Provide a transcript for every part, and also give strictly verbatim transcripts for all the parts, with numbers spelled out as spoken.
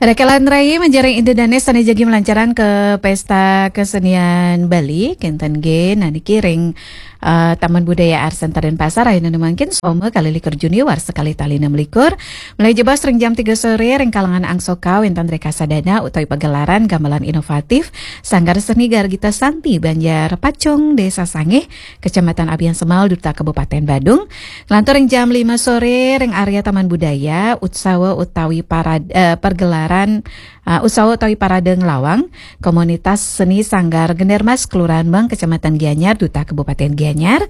Rekelan rai manjari Ida Dane sane jagi melancaran ke Pesta Kesenian Bali, kenten ge nani kiring eh, Taman Budaya Art Center Denpasar, ayo nani mangkin soma kali likur Juni warsa kali tali enam likur. Mulai jebos ring jam tiga sore, ring kalangan angsoka, wenten rekasa dana utawi pagelaran gamelan inovatif, Sanggar Seni Gargita Santi, Banjar Pacung, Desa Sangeh, Kecamatan Abian Semal, Duta Kabupaten Badung. Lantur ring jam lima sore, ring area Taman Budaya, utsawa utawi parad, eh, pergelaran, eh, utsawa utawi parade ngelawang, komunitas seni Sanggar Gendermas, Kelurahan Meng, Kecamatan Gianyar, Duta Kabupaten Gianyar.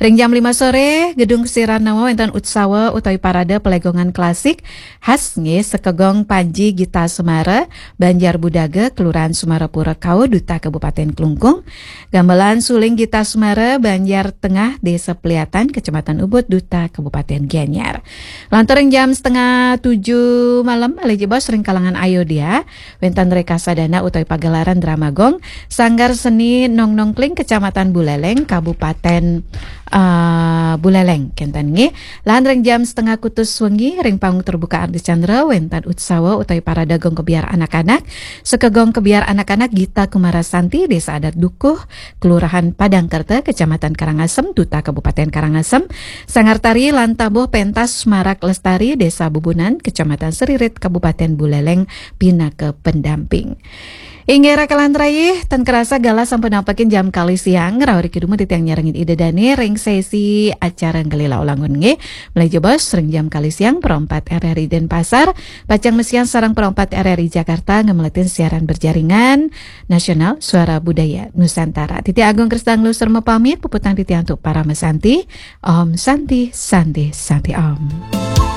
Ring jam lima sore, Gedung Siranawa, wenten utsawa utawi parade pelegongan klasik khas nggih, Sekegong Panji Gita Semara, Banjar Budaga, Kelurahan Semarapura Kaur, Duta Kabupaten Klungkung. Gamelan suling Gita Semara, Banjar Tengah, Desa Peliatan, Kecamatan Ubud, Duta Kabupaten Gianyar. Lantur ring jam setengah tujuh malam, malih jebos ring kalangan Ayodya, wenten rekasa dana utawi pagelaran drama gong, Sanggar Seni Nong Nongkling, Kecamatan Buleleng, Kabupaten eh, Buleleng, kenten nggih. Lan ring jam setengah kutus wengi, ring panggung terbuka Ardicandra, wenten utsawa utawi parade gong kebiar anak-anak, Sekegong Kebiar Anak-anak Gita Kumara Santi, Desa Adat Dukuh, Kelurahan Padangkerta, Kecamatan Karangasem, Duta Kabupaten Karangasem. Sanggar tari lan tabuh pentas Semarak Lestari, Desa Bubunan, Kecamatan Seririt, Kabupaten Buleleng, pinaka pendamping. Inggih rekelan rai, tan kerasa galah sampun nampakin jam kali siang, rauh ring kidung titiang nyarengin Ida Dane ring sesi acara Ngelila Ulangun nggih. Mulai jebos ring jam kali siang, Pro empat R R I Denpasar, pacang masian sareng Pro empat R R I Jakarta, ngemletin siaran berjaringan nasional Suara Budaya Nusantara. Titiang Agung Krisna Ngluh sareng pamit, puputang titiang antuk Parama Santi. Om Santi, Santi, Santi Om.